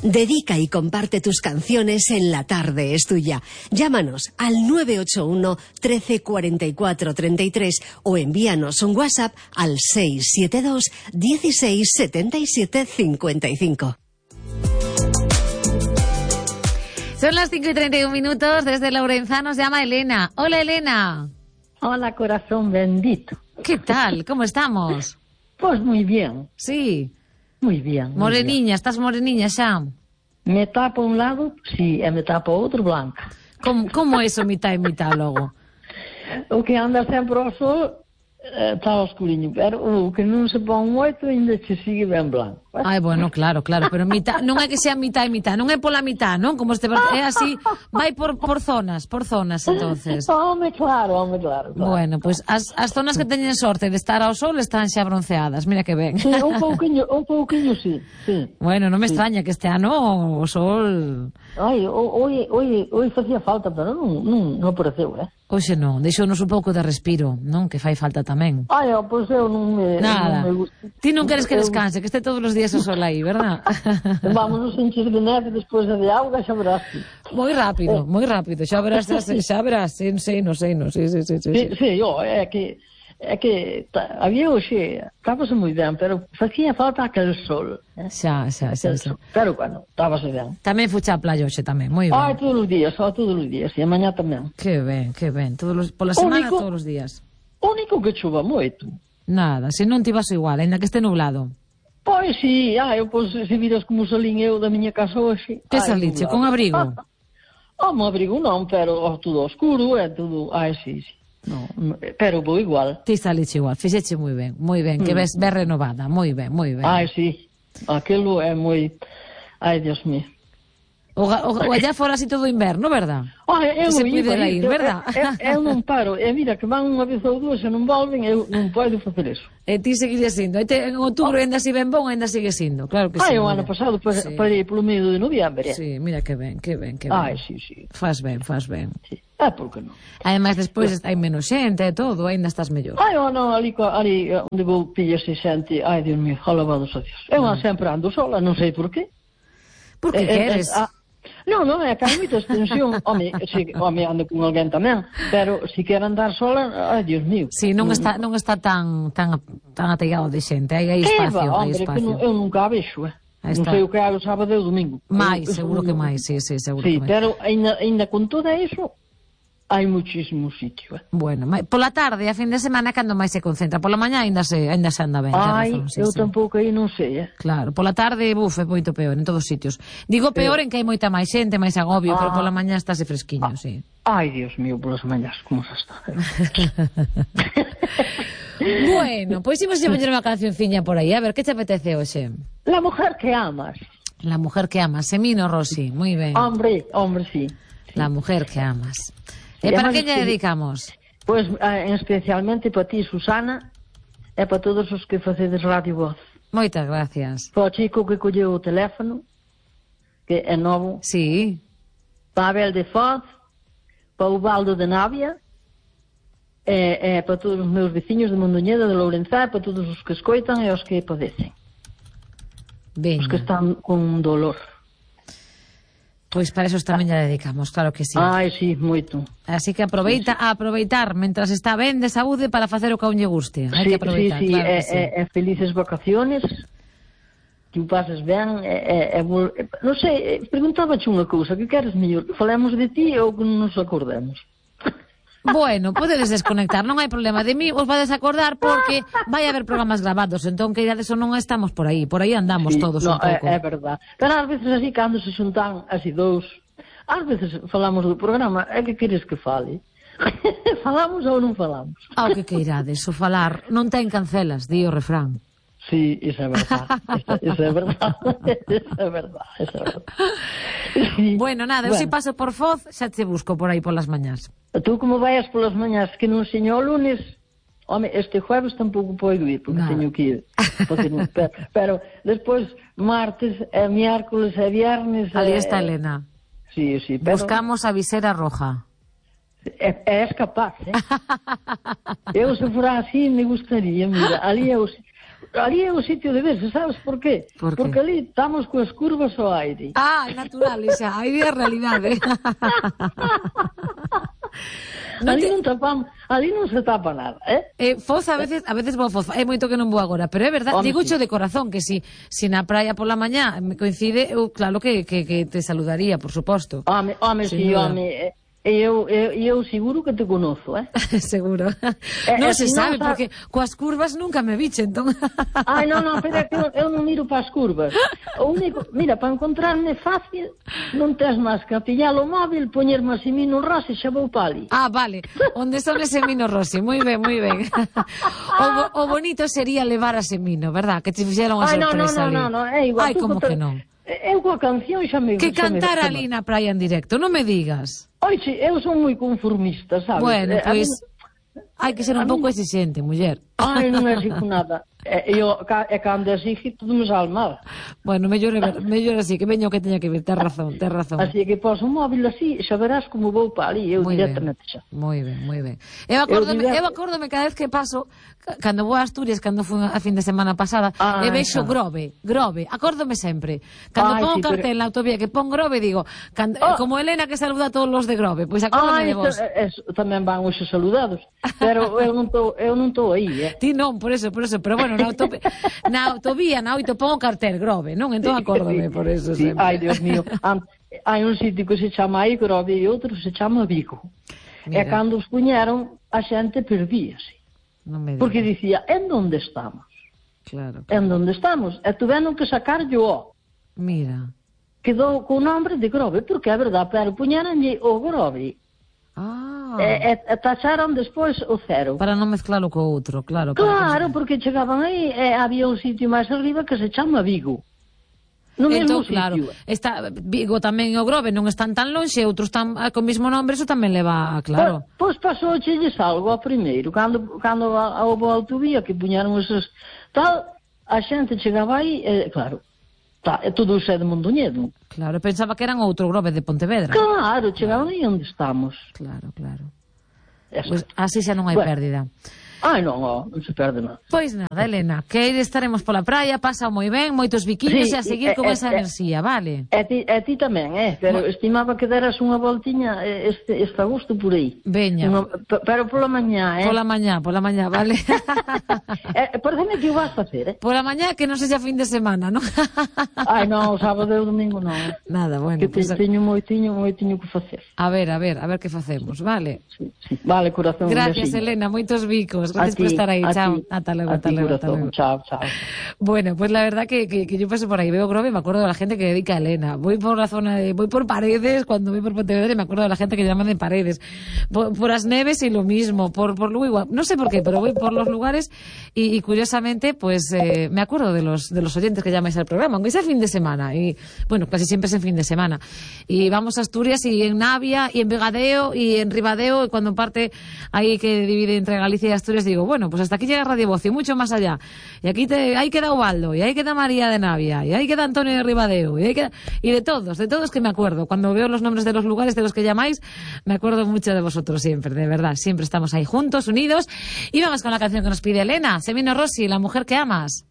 Dedica y comparte tus canciones en La Tarde es Tuya. Llámanos al 981 13 44 33 o envíanos un WhatsApp al 672 16 77 55. Son las 5:31 desde Lourenzá nos llama Elena. Hola, Elena. Hola, corazón bendito. ¿Qué tal? ¿Cómo estamos? Pues muy bien. Sí. Muy bien. Moreniña, estás moreniña xa? Me tapa un lado, sí, e me tapa outro blanca. Como é iso mitad e mitad logo? O que anda sempre ao sol está oscurinho, pero o que non se pon moito ainda se sigue ben blanco. Ai, bueno, claro, pero mitad, non é que sea mitad e mitad, non é pola mitad, non? Como é así, vai por zonas, entonces. Home, claro. Bueno, pois as zonas que teñen sorte de estar ao sol están xa bronceadas, mira que ben. Sí, un pouquiño, sí. Bueno, non me extraña que este ano o sol... Ai, hoy facía falta, pero non apareceu, Hoxe non, deixounos un pouco de respiro, non? Que fai falta tamén. Ai, pois eu non me... Nada. Non me gusta. Ti non queres que descanse, que este todos os días o sol aí, verdad? Vamos nos encher de neve despois de auga, xa verás. Moi rápido, xa verás, sí, había hoxe, estábase moi ben, pero facía falta aquel sol. Xa. Pero bueno, estábase ben. Tamén fucha a playa hoxe tamén, moi ben. Ai, todos os días, e mañá tamén. Que ben, pola semana todos os días. O único que chova moito. Nada, se non ti vas igual, ainda que este nublado. Pois si, se viras como salín eu da miña casa hoxe. Que saliche, con abrigo? Un abrigo non, pero tudo oscuro, tudo, sí. No, pero vou igual. Ti saliche igual, fixeche moi ben, que ves renovada, moi ben. Ai, sí, aquilo é moi... Ai, Dios mío. O allá fora así todo inverno, verdad? Eu se pudera ir, verdad? Eu non paro, mira, que van unha vez ou dúas e non volven, eu non podo facer eso. E ti seguirías sindo, en outubro ainda si ben bon, ainda sigue sindo, claro que sí. O ano pasado parei polo medio de noviembre. Sí, mira que ben. Ai, sí. Fas ben. Sí. Por que non? Ademais, despois hai menos xente e todo, ainda estás mellor. Ali onde vou pillarse xente, ai, Dios mío, alabados a Dios. Eu sempre ando sola, non sei por qué. Por que queres? Non, é que hai moita extensión. Home, ando con alguén tamén, pero se quero andar sola, ai, Dios mío. Si, non está tan ateigado de xente, hai espacio. Que eu nunca a vexo, Non sei o que hai o sábado e o domingo. Seguro que máis, sí, seguro que máis. Sí, pero ainda con todo iso, hai muchísimo sitio. Bueno, pola tarde, a fin de semana, cando máis se concentra? Pola mañá ainda se anda ben. Eu tampouco aí non sei, Claro, pola tarde, é moito peor, en todos os sitios. Digo peor en que hai moita máis xente, máis agobio, pero pola mañá estáse fresquiño, sí. Ai, Dios mío, polas mañás, como se está. Bueno, pois imos a poñer unha cancionciña por aí, a ver, que te apetece hoxe? La mujer que amas. La mujer que amas, Semino Rossi, moi ben. Hombre, sí. La mujer que amas. E para que lle dedicamos? Pois especialmente para ti, Susana, e para todos os que facedes Radio Voz. Moitas gracias. Para o chico que colleu o teléfono, que é novo. Sí. Para Abel de Foz, para o Baldo de Navia, e para todos os meus veciños de Mondoñedo, de Lourenzá, para todos os que escoitan e os que padecen. Ben. Os que están con dolor. Pois para eso tamén lle dedicamos, claro que sí. Ai, sí, moito. Así que aproveita a aproveitar mentras está ben de saúde para facer o que a un lle guste. Hai que aproveitar, sí, claro que sí. Felices vacaciones, que o pases ben, non sei, preguntábache unha cousa, que queres mellor, que falemos de ti ou que non nos acordemos? Bueno, podedes desconectar, non hai problema. De mí os vades acordar porque vai haber programas grabados, entón que irades ou non estamos por aí andamos todos un pouco. É verdad. Pero ás veces así, cando se xuntan así dous, ás veces falamos do programa, é que queres que fale? Falamos ou non falamos? Ao que queirades, o falar non ten cancelas, di o refrán. Sí, eso é verdad. Eso é verdad. Eso é verdad. Sí. Bueno, nada, eu se paso por Foz, xa te busco por aí polas mañás. Tú como vayas polas mañás que non seño o lunes, home, este jueves tampouco podo ir, porque teño que ir. Pero despois, martes, miércoles e viernes... Ali está Elena. Sí, pero... Buscamos a visera roja. És capaz, Eu se fora así me gustaría, mira, ali eu... ali é o sitio de verse, sabes por qué? Porque ali estamos coas curvas ao aire. É natural, xa, aí é a realidade. Ali non se tapa nada, Foz, a veces vou a Foz, é moito que non vou agora, pero é verdade, digocho de corazón que si na praia pola mañá me coincide, eu claro que te saludaría, por suposto. Home, eu seguro que te conozo, Seguro. Non se sabe, porque coas curvas nunca me viche, entón. Non, pero é que eu non miro para as curvas. O único, mira, para encontrarme fácil, non tes máis que pillar o móvil, poñerme a Semino Rossi e xa vou para ali. Vale. Onde son ese Semino Rossi? Moi ben, moi ben. O bonito sería levar a Semino, verdad? Que te fixeron a sorpresa ali. Non, é igual. Ai, como que non? Eu coa canción xa me... Que cantar ali na praia en directo, non me digas. Oixe, eu son moi conformista, sabes? Bueno, pois hai que ser un pouco exigente, muller. Non exijo nada. Cando exige, todo me sale mal. Bueno, mellor así, que veña o que teña que ver, tes razón. Así que pos un móvil así, xa verás como vou para ali, eu directamente xa. Moi ben. Eu acórdome cada vez que paso, cando vou a Asturias, cando fui a fin de semana pasada, e vexo Grove, acórdome sempre. Cando pongo cartel na autovía que pon Grove, digo, como Elena que saluda a todos os de Grove, pois acórdome de vos. Tamén van os saludados, pero eu non estou aí, Ti non, por eso, pero bueno, na autovía, na 8 pongo cartel Grove, non? Entón acórdome por eso sempre. Ai, Dios mío, hai un sitio que se chama aí Grove e outro se chama Vigo. E cando os puñeron, a xente perdíase. Porque dicía, en donde estamos? Claro. En donde estamos? E tuveron que sacar yo. Mira. Quedou con o nombre de Grove, porque é verdade, pero puñeronlle o Grove. E tacharon despois o cero. Para non mezclalo co outro, claro. Claro, porque chegaban aí e había un sitio máis arriba que se chama Vigo. No mesmo sitio. Claro, Vigo tamén e o Grove non están tan lonxe, outros están co mesmo nombre, eso tamén leva, claro. Pois pasou chelles algo ao primeiro, cando houve a autovía que puñaron esos tal, a xente chegaba aí, claro, todo o xe de Mondoñedo. Claro, pensaba que eran outro Grove de Pontevedra. Claro, chegaban aí onde estamos. Claro. Pois así xa non hai pérdida. Non se perde nada. Pois nada, Elena, que estaremos pola praia, pasa moi ben, moitos biquiños e a seguir con esa enerxía, vale? E ti tamén, pero estimaba que deras unha voltiña este agosto por aí. Veña. Pero pola mañá, Pola mañá, vale? Parece que o vas facer, Pola mañá que non sexa fin de semana, non? Non, o sábado e o domingo non. Nada, bueno. Que teño moitiño que facer. A ver que facemos, vale? Sí. Vale, corazón. Gracias, Elena, moitos bicos. Gracias por estar aí, chao. Hasta luego. Chao. Bueno, pues la verdad que yo paso por ahí, veo Grove y me acuerdo de la gente que dedica a Elena. Voy por la zona voy por Paredes, cuando voy por Pontevedra y me acuerdo de la gente que llaman de Paredes. Por As Neves y lo mismo, por Lugo igual. No sé por qué, pero voy por los lugares y curiosamente, pues me acuerdo de los oyentes que llamáis al programa, aunque sea fin de semana. Y bueno, casi siempre es en fin de semana. Y vamos a Asturias y en Navia y en Vegadeo y en Ribadeo, y cuando parte ahí que divide entre Galicia y Asturias, digo, bueno, pues hasta aquí llega Radio Voz y mucho más allá. Y aquí ahí queda Ubaldo, y ahí queda María de Navia, y ahí queda Antonio de Ribadeo, y de todos que me acuerdo. Cuando veo los nombres de los lugares de los que llamáis, me acuerdo mucho de vosotros siempre, de verdad. Siempre estamos ahí juntos, unidos. Y vamos con la canción que nos pide Elena, Semino Rossi, La mujer que amas.